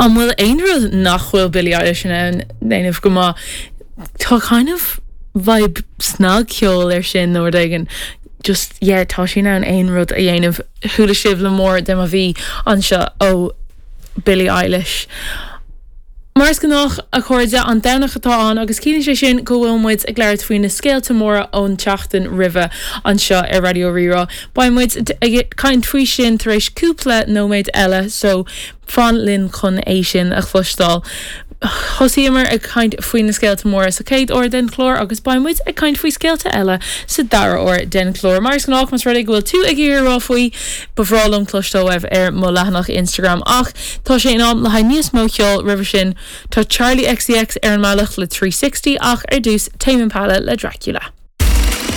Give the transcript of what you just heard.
An bhfuil aon rud nach bhfuil Billie Eilish in ann déanamh go maith? Tá kind of vibe snagcheol air sin nó rud éigin. Just, yeah, tá sí in ann aon rud a dhéanamh. Chuala sibh le More de mo mhí anseo ó Billie Eilish. Mar is gnách, a chairde, an Domhnach atá ann agus ciallaíonn sé sin go bhfuil muid ag labhairt faoi na scéalta móra ón tseachtain roimhe anseo ar Raidió Rí-Rá. Beidh muid ag caint faoi sin tar éis cúpla nóiméad eile so fan linn chun é sin a chloisteáil. Thosaíomar ag caint faoi na scéalta móra sa chéad uair den chlár agus beidh muid ag caint faoi scéalta eile sa dara huair den chlár. Mar is gnách, más rud é go bhfuil tú ag iarraidh a rá faoi, ba bhreá liom cloisteáil uaibh ar mo leathanach Instagram. Ach tá sé in am le haghaidh níos mó ceoil roimhe sin. Tá Charli XCX ar an mbealach le 360 ach ar dtús, Tame Impala le Dracula.